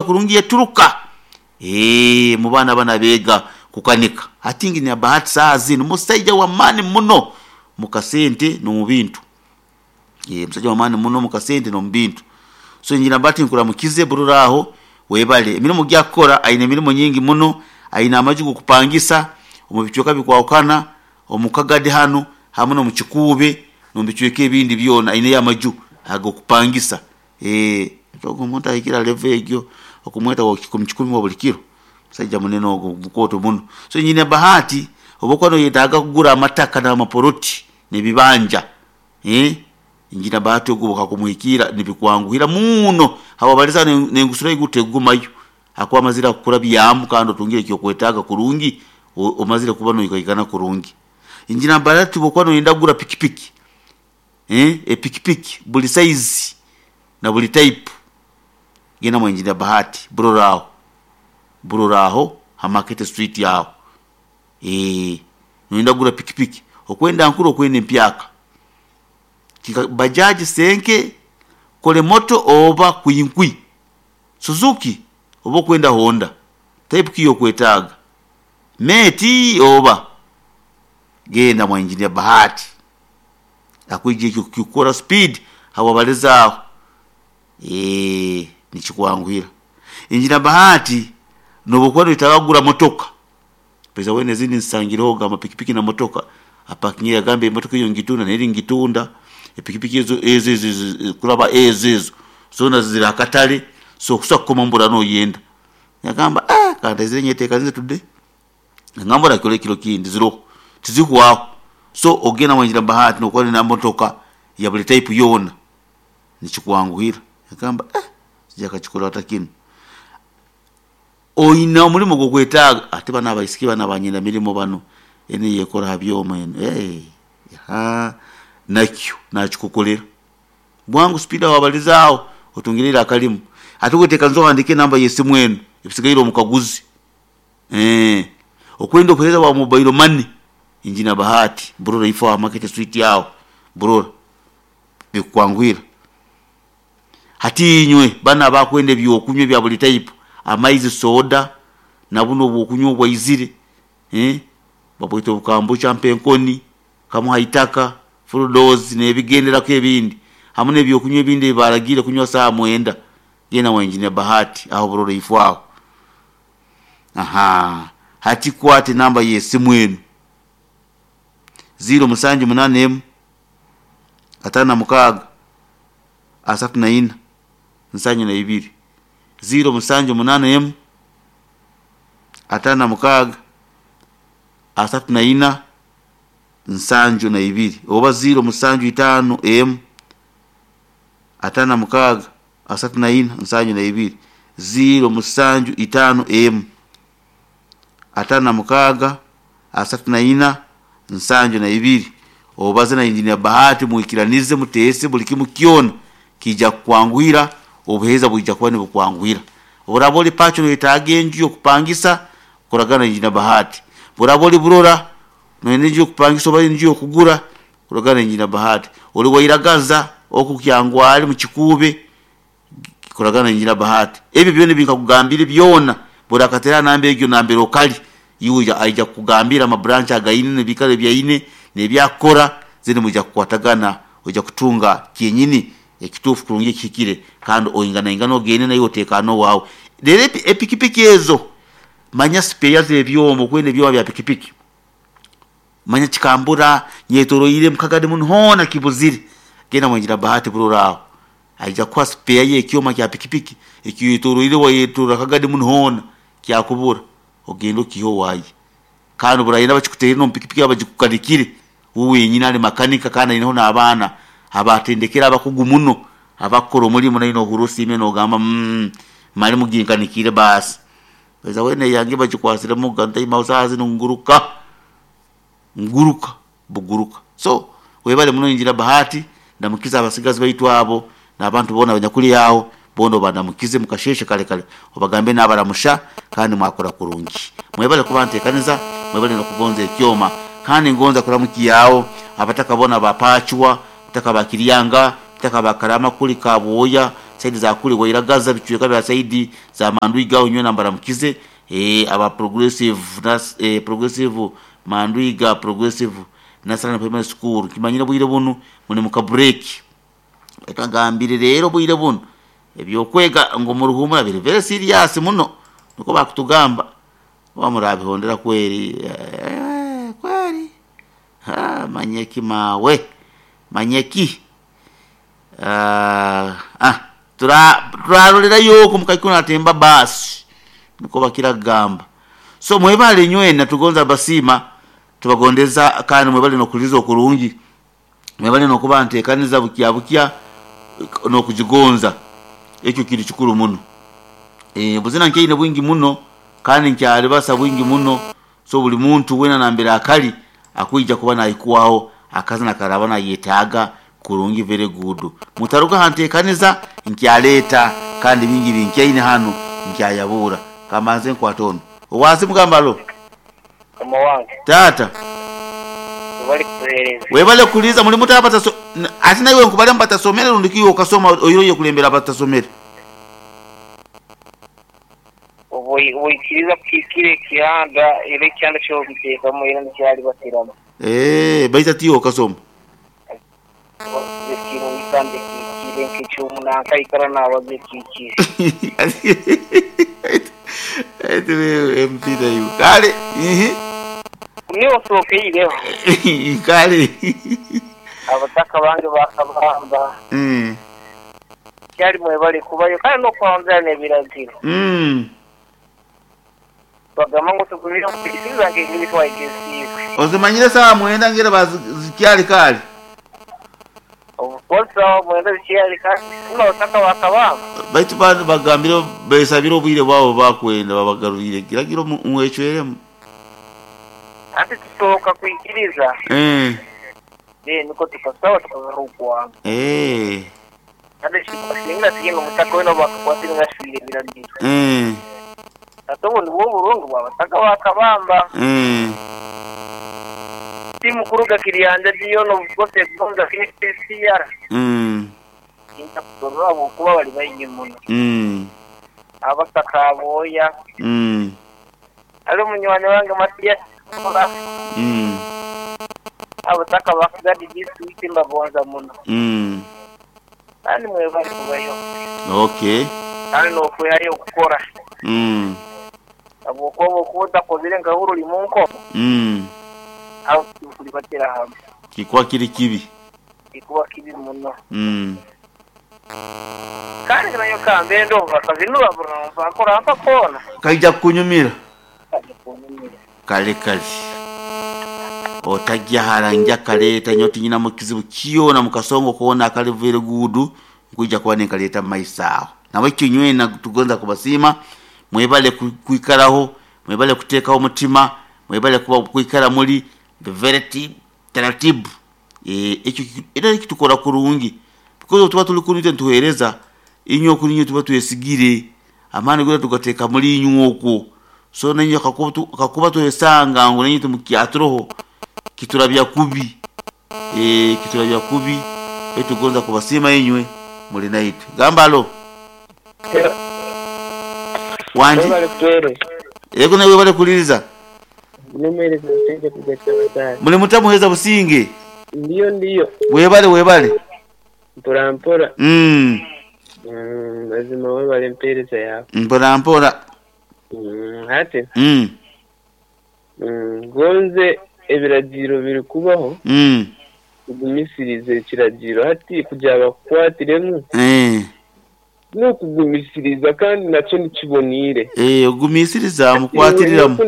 Kurungi yaturuka mu baana banu abeega kukanika. Hati Engineer Bahati saaha zinu musaija w'amaani muno mu kasente n'omu bintu. Musaija w'amaani muno mu kasente n'omu bintu. So Engineer Bahati nkuramukize burora aho webale. Emirimo gyakukora aine emirimo nyingi muno, aine amaju g'okupangisa omu bicweka bikwahukana, omu Kagadi hanu hamu n'omu Kikuube n'omu bicweka ebindi byona aineyo amaju ag'okupangisa. Ogu omuntu ahikire ha level egyo okumweta wa kikumi kikumi wa buli kiro, musaija munene ogu mukooto muno. So Engineer Bahati obu okuba noyetaaga kugura amataka n'amapoloti n'ebibanja, Engineer Bahati ogu bukakumuhikiira nibikwanguhira muno habwabaliza n'engusuro haiguru tekugumayo hakuba amazire kukurabyamu kandi otungire ekyokwetaaga kurungi, omazire kuba noikaikana kurungi. Engineer Bahati obu okuba noyenda kugura pikipiki, epikipiki buli saizi na buli type, genda mwa Engineer Bahati Burora aho, Burora aho ha Market Street aho. Noyenda kugura pikipiki, okwenda nkuru okwenda empyaka, bajaji senke, kolemoto oba kwinkwi, Suzuki oba okwenda Honda, type ki yokwetaaga? Meti oba? Genda mwa Engineer Bahati akwija ekyo kukikora speed habwabaliza aho nikikwanguhira. Engineer Bahati nobu okuba noyetaaga kugura motoka, pesa weena ezindi nzisangireho amapikipiki na motoka, apakingire yagamba emotoka eyo ngitunda neri ngitunda, epikipiki ezo ezo ezo kuraba ezo ezo zoona ziri aha katale so okusa kukoma mbura noyenda. Yagamba kantaizire nyetekanize today, nangamba orakora ekiro kindi ziroho tizihwaho. So ogenda mwa Engineer Bahati nokuba na motoka ya buli type yoona nikikwanguhira. Yagamba kija akakikora ata kinu? Oine omurimo ogw'okwetaaga, ate banu abaisiki banu abanyenda mirimo banu, enu eyekora ha byoma enu nakyo nakikukolera. Bwangu speed aho wabaliza aho otungire ira akalimu. Ate wetekanize ohandiike enamba y'esimu enu ebisigaire omukaguzi. Okwenda obuheereza bwa mobile money, Engineer Bahati, Burora ifo aha Market Street aho, Burora, bikukwanguhira. Hati inywe banu abakwenda ebyokunywa ebya buli type, amaizi, soda, na bunu obwokunywa obwaizire, babweta obukambucha mpa enkoni, kamu ha itaka, full dose n'ebigenderaku ebindi, hamu n'ebyokunywa ebindi ebi baragiire kunywa saaha mwenda, genda mwa Engineer Bahati aho Burora ifo aho. Ahaa, hati kwata enamba y'esimu enu, ziiro musanju munaana emu, ataano na mukaaga, asatu na ina, nsanju na ibiri. Ziiro musanju munaana emu, ataano na mukaaga, asatu na ina, nsanju na ibiri. Oba ziiro musanju itaano emu, ataano na mukaaga, asatu na ina, nsanju na ibiri. Ziiro musanju itaano emu, ataano na mukaaga, asatu na ina, nsanju na ibiri. Obaze na Engineer Bahati mwikiranize muteese buli kimu kyona kiija kukwanguhira, obuheereza bwija kuba nibukwanguhira. Obu oraaba ori Pacho noyetaaga enju y'okupangisa, koragana na Engineer Bahati. Obu oraaba ori Burora noyenda enju y'okupangisa oba enju y'okugura, koragana na Engineer Bahati. Ori Wairagaza oku Kyangwali mu Kikuube, koragana na Engineer Bahati. Ebyo byona ebi nkakugambire byona, bw'orakatera ha namba egyo nambere okali, iwe aija kukugambira ama branch againe n'ebiikaro ebi aine n'ebi akukora, then mwija kukwatagana oija kutunga kyenyini ekituufu kurungi ekihikire kandi oinganaingane ogende naiwe oteekaane owaawe. Reero epikipiki ezo, manya sipeeya z'ebyoma okwenda ebyoma bya pikipiki, manya kikambura, nyetoroire Mukagadi munu hoona kibuzire, genda mwa Engineer Bahati Burora aho, aija kukuha sipeeya y'ekyoma kya pikipiki eki oyetoroire wayetorora Kagadi munu hoona kyakubura, ogende okiihe owaaye. Kandi obu orayenda bakikuteere n'omu pikipiki yaaba bagikukanikire, we wenyini ari makanika kandi aineho n'abaana abaatendekere abakugu muno abakukora omurimo naiwe nohurra osiimire nogamba mali muginkanikiire baasi. Baiza weena eyange bagikwasiremuga ntaima saaha zinu nguruka, nguruka buguruka. So webale muno Engineer Bahati, ndamukize abasigazi baitu abo n'abantu boona abanyakuli aho boona obanamukize mukasheeshe kare kare obagambe nabaramusha kandi mwakora kurungi. Mwebale kuba nteekaniza, mwebale n'okugonza ekyoma. Kandi ngonza kuramukiaho abataka boona ba Pachwa, abataka ba Kiryanga, abataka ba Karamakuli, Kabwoya, Saidi za kule Wairagaza, bicweka bya saidi za Mandwiga aho nywena mbaramukize, aba Progressive nas, Progressive Mandwiga Progressive National Primary School. Kimanyire bwire bunu muli muka break. Reka ngambire rero bwire buno ebyokwega ngo muruhumura biri very serious muno, niko bakutugamba wamurabihondera kweri, kweri ha, manyeki mawe manyeki. Turarolera yoko mukaikuna atemba basi, niko bakiragamba. So mwebale nywena tugonza basima tubagondeza, kandi mwebale nokuliza okurungi, mwebale nokuba ntekaniza bukya bukya nokujigonza. Ekyo kiri kikuru muno. Buzina nkeine bwingi muno kandi nkyalibasa bwingi muno. So buli muntu wena nambere akali akwija kuba naikuwaho akazina karaba nayetaaga kurungi very good. Mutaruka hantekaniza nkyaleta kandi bingi binkyaine hano nkyayabura. Kamanze nkwatono owazi mugambalo Kama wange tata webale kutuhereza. Webale kuliza muri muta bataso ati nawe nkubale mbatasomere rundikiyo ukasoma oyiroye kulembera batasomere. Obuikiriza kikire kihanda ile kihanda cyo bitekamu ile ncyari batiramo. Baita tiyo ukasoma. Ikintu nikande kikire nkicyumunanka ikara nabaze kikire. Eti wewe mpira hiyo. Kale. Niyo soke ileho. Kale. Abataka bange bakabamba. Cyari mwebale kubayo kandi no kwanza n'ebiragiro. Bagamba ngo tugumire kwisiza nge twayigesiwe. Ozimanyire sawa mwenda ngere bazikyali kale. Obukosa mwenda zikyali kale. N'abataka bakabamba. Baitu bagambire besabire obwire bwabo bakwenda babagarurire kiragiro mwecweremu. Ati tusoboka kwikiriza. Niko tukasaba tukagarukwa. Ate shikusinga tiyenga mutaka wena bakakwatira ngashwire biragiro. Ate ubu nibwo burungu bwabataka bakabamba. Timu kuruga kiriyanja diyo no bwose bwonza KCR. Inta kutorora kuba bali bayingi muno. Abataka aboya. Ali munywani wange Matias. Abataka bakugadi district mbabonza muno. Kandi mwebale kubayo. Okay. Kandi nokwehayo okukora. Abwokuba okudakozire nka huru limunko. Aho kulibatira hamwe. Kikuwa kiri kibi. Kikuwa kibi muno. Kandi nayo kambe ndumva kazinura burumva akora mpa kona. Kaija kunyumira. Kaija kunyumira. Kale kale. Otajja haranja kaleta nyoti nyina mukizibu kiona mukasongo kuona akali very good nkuija kuba nekaleta maisao. Nawe kinywena tugonza kubasima mwebale kuikaraho, mwebale kutekaho omutima, mwebale kuba kuikara muri very taratibu. Ekyo era kitukora kurungi. Because tuba tuli kunite ntuhereza inyo kuninyo tuba twesigire amani gura tugateka muri inyo okwo. So nenyo kakuba tuhesanga ngo nenyo tumukyaturoho kiturabya kubi. Kiturabya kubi etugonza kubasima inywe muri naitwe. Gambalo. Wanji. Yego nawe bale kuliriza. Nimereza sije kugacha. Muri mutamuheza businge. Ndiyo ndiyo. Webale webale. Mpora mpora. Lazima webale mpereza yawe. Mpora mpora. Hati. Gonze ebiragiro biri kubaho. Kugumisiriza ekiragiro hati kugira bakukwatiremu. N'okugumisiriza kandi nakyo nikiboniire. Ogumisiriza mukwatiriramu.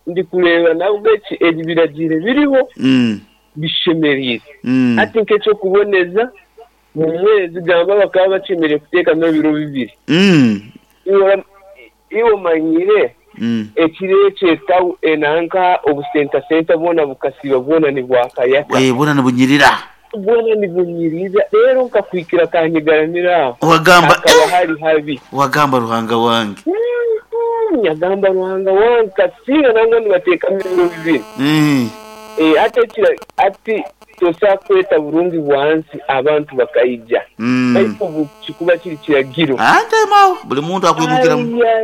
Ndi kureba nabwo ebiragiro biriho. Bishemerire. Ati nk'ekyo kuboneza mu mwezi gamba bakaba bakemereye kuteekamu ebiro bibiri. Iwe manyire ekiro ekyetawu enanka obusenta bwona bukasiba bwona nibwakayaka. Bwona nibunyirira. Bwona nibunyirira. Rero nkakwikira kanyigaramira aho. Wagamba hakaba hari habi. Wagamba Ruhanga wange. Nyagamba Ruhanga wange kasinga nangwa nibateekamu ebiro bibiri. Ate ati Tosobola kweta burungi bwa nsi abantu bakaija. Baitu obu kikuba kiri kiragiro. Ante agho buli muntu akwimukiramu.